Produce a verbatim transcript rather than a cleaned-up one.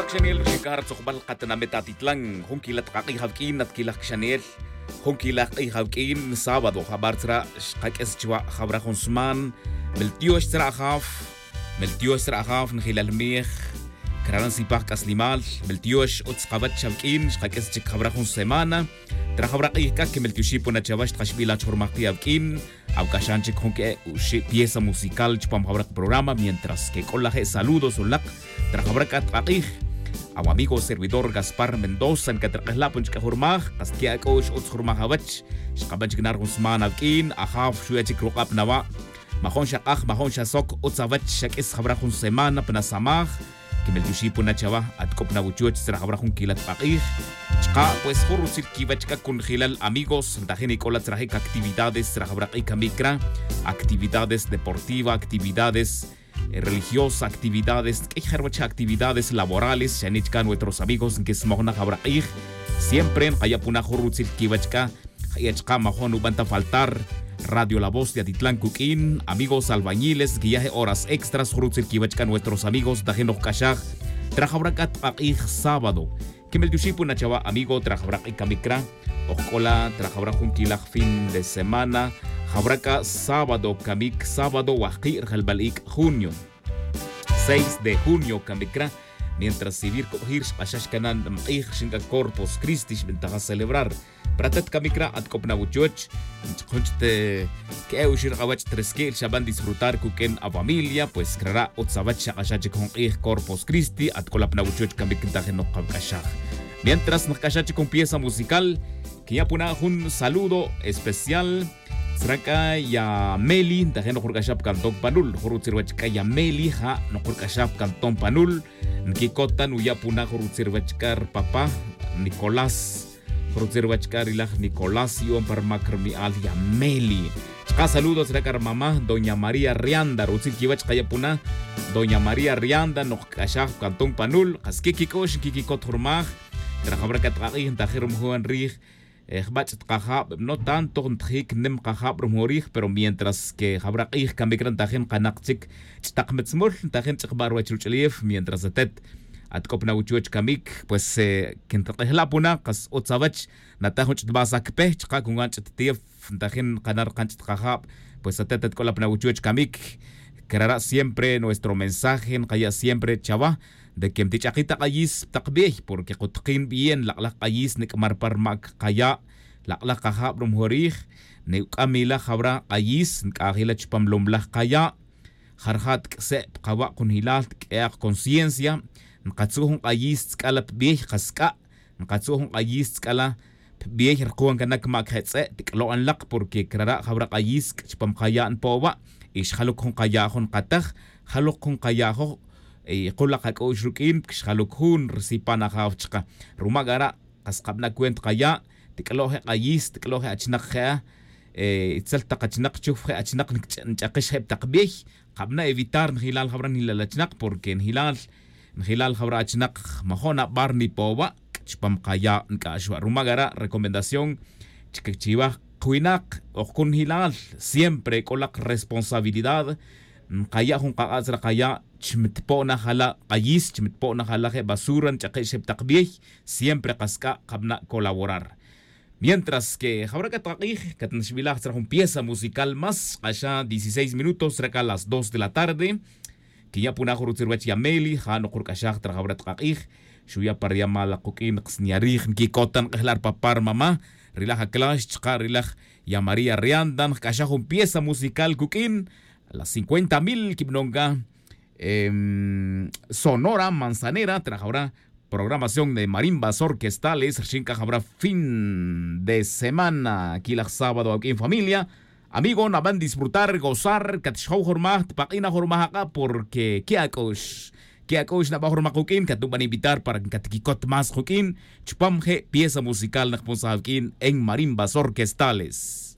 Kxanel rixin c'a ri tzojbal katinamit atitlan jun quilal tak ak'ij awuq'uin at quilaj kxanel. Jun quilaj k'ij awuq'uin sábado jabar tzra' xkaq'uis chuwa' jawra jun sman. Meltiox tzra' ajaw. Meltiox tzra' ajaw njilal mij. Craran sipaj c'aslimal. Meltiox utz kawech awuq'uin xkaq'uis chic jawra jun semana. Tra jawra k'ij c'a quimeltioxipon na chawa xtkaxbilaj chujurmaj ki' awuq'uin. Awuc'axan chic jun que'e' uxi' pieza musical chupam jawra kaprograma mientras que c'o laje' saludos unak. Tra jawra c'a tk'ak'ij. Awamigo servidor gaspar mendoza ncatrik'ejlapon chic ajurmaj. Kas que ac'o ix utz jurmaj awech. Xkaban chic na ri jun sman awuq'uin ajaw xuya' chic ruk'ab na wa'. Majon xak'aj majon xasoc utz awech xak'is jawra jun semana pa na samaj. Quimeltioxipon na chawa. Atc'op na wuchuch tzra jawra jun quilal tk'ak'ij. Chka' pues jun rutzil quiwech c'a cunjelal amigos ntajin ic'ola tzrajic actividades tzra jawra k'ij camic cra. Actividades deportiva actividades religiosa actividades q'uiy je' ruwech actividades laborales xa nichca nuestros amigos nquismoj na jawra k'ij. Siempre nkaya' puna jun rutzil quiwech c'a. Jaya' chka' majon nuban ta faltar. Radio la voz de atitlan cuq'uin amigos albañiles nquiya' je' horas extras jun rutzil quiwech c'a nuestros amigos ntajin noj c'axaj. Tra jawra c'a tk'ak'ij sábado. Quimeltioxipon na chawa amigo tra jawra k'ij camic cra. Ojc'ola tra jawra jun quilaj fin de semana. Jawra c'a sábado camic sábado wajki' rajelbal ic' junio. Seis de junio camic cra. Mientras sivir cubjir xk'axax cana' nbk'ij rixin c'a corpus cristi xbintaja celebrar. Para atet camic cra atc'op na wuchuch. Jun chit que'e' uxir k'awech tresqui'l xaban disfrutar cuq'uin afamilia pues crara' utz awech xak'axaj chic jun k'ij corpus cristi atc'olap na wuchuch camic ntajin noj kawc'axaj. Mientras nkc'axaj chic jun pieza musical. Quinya' puna jun saludo especial. Tzra c'a ya meli ntajin noj rc'axaj pa cantón panul jun rutzil ruwech c'a ya meli ja' noj rc'axaj pa cantón panul. Nquicot ta nuya' puna jun rutzil ruwech c'a ri papá nicolás. Jun rutzil ruwech c'a ri laj nicolás yu'on pa rumac rumi'al ya meli. Chka' saludos re c'a ri mamá doña maría rianda rutzil quiwech kaya' puna. Doña maría rianda noj kc'axaj pa cantón panul kas que quic'u'x nquiquicot jurmaj. Cra jawra c'a tk'ak'ij ntajin rumujun rij. Jbach' tkajab no tanto ntajic nim kajab rumujun rij pero mientras que jawra k'ij camic re ntajin kanak chic ch'tak mitzmul ntajin ch'ikba' ruwech ruch'ulef mientras atet. Atc'op na wuchuch camic pues quintak'ejla' puna kas utz awech. Nata jun ch'it basa cpe chka' cungan ch'it tiyef ntajin kana' rkan ch'it kajab. Pues atet atc'olap na wuchuch camic. Crara' siempre nuestro mensaje nkaya' siempre chawa de que mtich'akij ta k'ayis tak bey porque kutkin bien lak'laj k'ayis nic'mar pa rumac kaya'. Lak'laj kajab rumujun rij. Nic'am ila jawra k'ayis nc'aj ila chupam lomlaj kaya'. Jarja' tk'se' pkawa' kunjilal tk'e'ak conciencia. Nkatzu' jun k'ayis tzc'ala pbey kask'a'. Nkatzu' jun k'ayis tzc'ala pbey rkuwan canac mac je tz'e' tic'lo'an lak porque crara' jawra k'ayis chupam kaya' npo'wa'. Y xjaluk jun kaya' jun kataj. Jaluk jun kaya' joj. Y kul lak ac'u'x ruq'uin xjaluk jun risipan ajaw chka. Ruma' cara' kas kabana' cuenta kaya'. Tic'lo' je' k'ayis tic'lo' je' achinak je'a. Itzel tak achinak chuf je' achinak nch'akix je' tak bey. Kabana' evitar njilal jawra njilal achinak porque njilal njilal jawra achinak majo' nabar nipowa'. Chupam kaya' nc'ax wa' ruma' cara' recomendación. Chiwa kwinak ojkun njilal siempre c'o lak responsabilidad. Nkaya' jun kak'atz re kaya' chmitpo' na jala' k'ayis chmitpo' na jala' je' basura nch'akix je' tak bey. Siempre kask'a' kabana' colaborar. Mientras que jawra c'a tkak'ij catnaxbilaj tzra jun pieza musical más k'axa dieciséis minutos tzra c'a las dos de la tarde. Quinya' puna jun rutzil ruwech yameli ja' noj rc'axaj tzra jawra tkak'ij. Xuya' pa riyamal akuq'uin ksnya rij nquicotan k'ejla' rpapa' rmama'. Rilaj aclax chka' rilaj ya maría rianda nkc'axaj jun pieza musical cuq'uin. Las cincuenta mil quibanon c'a sonora manzanera tzra jawra programación de marimbas orquestales rxin c'a jawra fin de semana quilaj sábado awq'uin familia. Amigo naban disfrutar gozar catxjow jurmaj tpak'in ajurmaj ak'a' porque que ac'u'x que ac'u'x naban jurmaj kuq'uin catnuban invitar para catquicot más kuq'uin. Chupam je' pieza musical nakponsaj awq'uin en marimbas orquestales.